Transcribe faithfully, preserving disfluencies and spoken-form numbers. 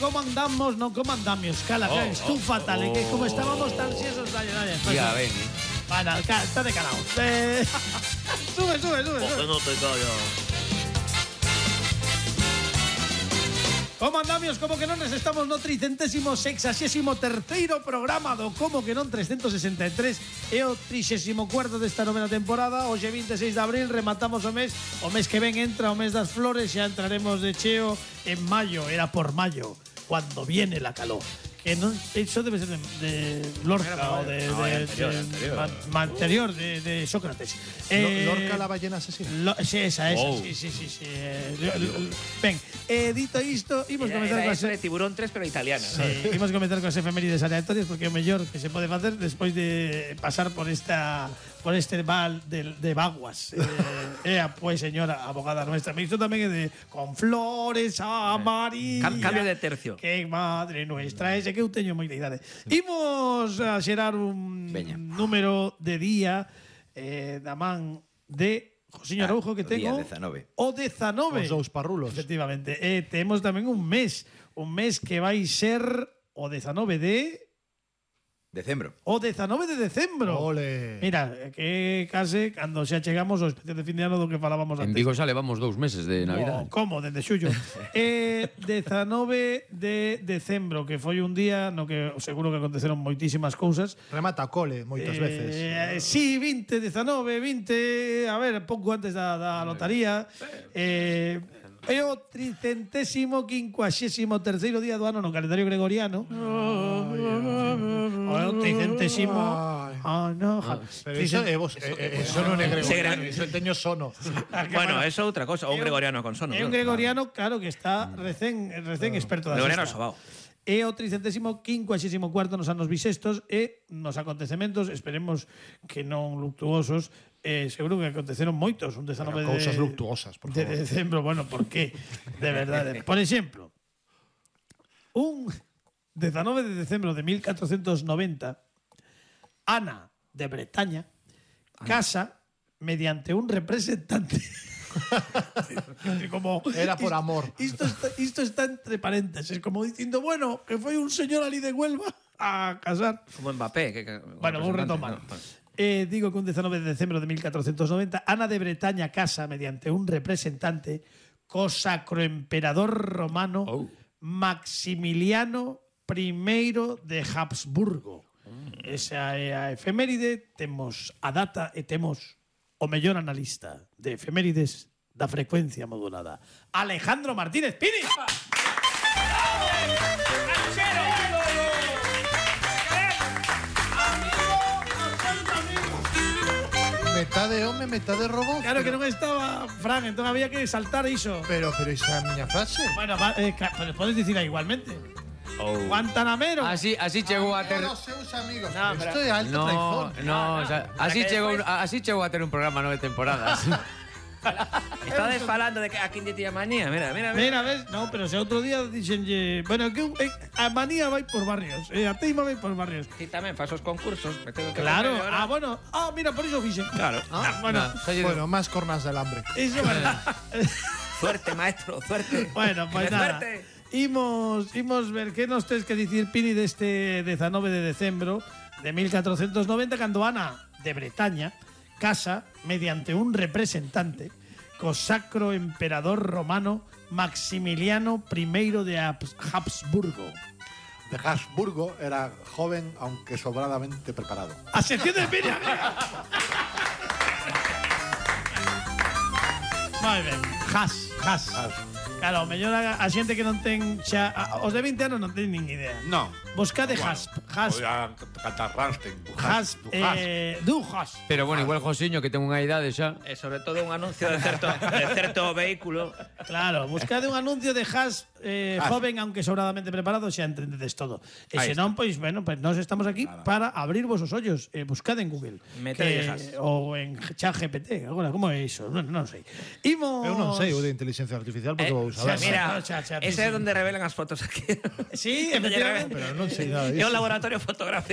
como andamos, non como andamios. Cala, Oh, que tú oh, fatal, oh, eh, que como oh, estábamos tan xesos, dalle, dalle. Ya ven, eh. Bueno, ca- está de calao. Eh, sube, sube, sube, Que sube. no te callas. Como andamios, como que non nos estamos no tricentésimo sexagésimo terceiro programa do Como que non trescentos sesenta e tres e o trixésimo cuarto desta novena temporada. Hoxe veintiséis de abril rematamos o mes. O mes que ven entra o mes das flores, xa entraremos de cheo en maio, era por maio, cuando viene la calor. Que non, eso debe ser de, de Lorca o de, No, de, anterior, de, anterior. ma- ma- anterior de, de Sócrates. Eh, Lorca la ballena asesina. Lo, sí, esa, esa, Oh. sí, sí, sí, sí. Eh, lo- lo- ben, eh, dito isto, imos Era, comenzar era coas eso de Tiburón tres, pero italiana. Sí, imos comenzar coas efemérides aleatorias porque é o mellor que se pode facer despois de pasar por esta por este val de, de vaguas. Eh, ea, pois, señora abogada nuestra, me isto tamén é de con flores amarillas. Cam- cambio de tercio. Que madre nuestra, ese que eu teño moita idade. Imos a xerar un Veña. número de día eh, da man de Josiño Ah, Araujo que o día tengo dezanove. o dezanove. Os dous parrulos. Efectivamente. Eh, temos tamén un mes, un mes que vai ser o dezanove de Decembro. o dezanove de decembro. Ole. Mira, que case cando xa chegamos ao especial de fin de ano do que falábamos En antes. Vigo xa levamos dous meses de Navidad. Oh, como, desde xullo. eh, dezanove de decembro, que foi un día no que seguro que aconteceron moitísimas cousas. Remata cole moitas veces. Eh, sí, vinte, dezanove, vinte, a ver, pouco antes da, da lotaría. Eh, é o tricentésimo quincuaxésimo terceiro día do ano no calendario gregoriano. O é o tricentésimo. Ah, no, ja- Pero iso é vos, eh, eh, eso non é gregoriano, Segre- iso teño sono. Bueno, eso é outra cosa. O un gregoriano con sono. É un ¿no? gregoriano, claro, que está recén, recén experto da Gregoriano sexta. sobao. É o tricentésimo quincuaxésimo cuarto nos anos bisestos e nos acontecementos, esperemos que non luctuosos, eh, seguro que aconteceron moitos, un dezanove Pero cousas de, luctuosas, por de favor. decembro, bueno, por qué? De verdade. Por exemplo, un dezanove de decembro de mil catrocentos noventa, Ana de Bretaña casa mediante un representante. Como, Era por isto- amor. Isto está, isto está entre paréntesis, como dicindo, bueno, que foi un señor ali de Huelva a casar. Como Mbappé. Que, que, Bueno, vou retomar. Eh, digo que un dezanove de decembro de mil catrocentos noventa, Ana de Bretaña casa mediante un representante co sacroemperador romano Oh. Maximiliano primeiro de Habsburgo. Esa é a efeméride, temos a data e temos o mellor analista de efemérides da frecuencia modulada, Alejandro Martínez Pini. Metade home, metade robot. Claro que non estaba Fran, entón había que saltar iso. Pero, pero esa é a miña frase. Bueno, va, eh, ca- pero podes dicir igualmente. Oh. Guantanamero. Así, así chegou a ter... Todos os seus amigos. No, Pero pero- Isto é alta No, traizón. no, o sea, así que chegou, despois- así chegou a ter un programa nove temporadas. Estades falando de que a quien tía manía. Mira, mira, mira. Mira, ves? No, pero se outro día dixenlle, bueno, que eh, a manía vai por barrios, eh, a teima vai por barrios. Ti tamén fas os concursos. me tengo que Claro. poner ahora. Ah, bueno. Ah, mira, por iso fixen. Claro. Ah, bueno. No, soy- Bueno, máis cornas del hambre. Iso vale. Suerte, maestro, suerte. Bueno, pues Que nada. suerte. Imos, imos ver que nos tes que dicir, Pini, deste dezanove de decembro de mil catrocentos noventa, cando Ana de Bretaña casa mediante un representante co sacro emperador romano Maximiliano primeiro de Habs- Habsburgo. De Habsburgo era joven, aunque sobradamente preparado. A sección de Pini. Moi ben, Has, Has. Claro, o mellor a, a xente que non ten xa, a, os de vinte anos non ten nin idea. No. Buscade Hasp, Hasp, Podía cantar Rammstein. Hasp, Du Hasp. eh, du Hasp. Pero bueno, igual Josiño, que ten unha idade xa. E sobre todo un anuncio de certo, de certo vehículo. Claro, buscade un anuncio de Hasp, eh, Hasp. joven aunque sobradamente preparado, xa entendedes todo. E Ahí se non, pois, bueno, pues nós estamos aquí para abrir vosos ollos. Eh, buscade en Google. Metede Que- Hasp. ou en ChatGPT. Agora, como é iso? Non, non sei. Imos... Eu non sei o de inteligencia artificial porque Eh, vou saber. mira, Xa, xa, ese sí. é onde revelan as fotos aquí. Sí, efectivamente. Pero non sei nada É disso. o laboratorio fotográfico.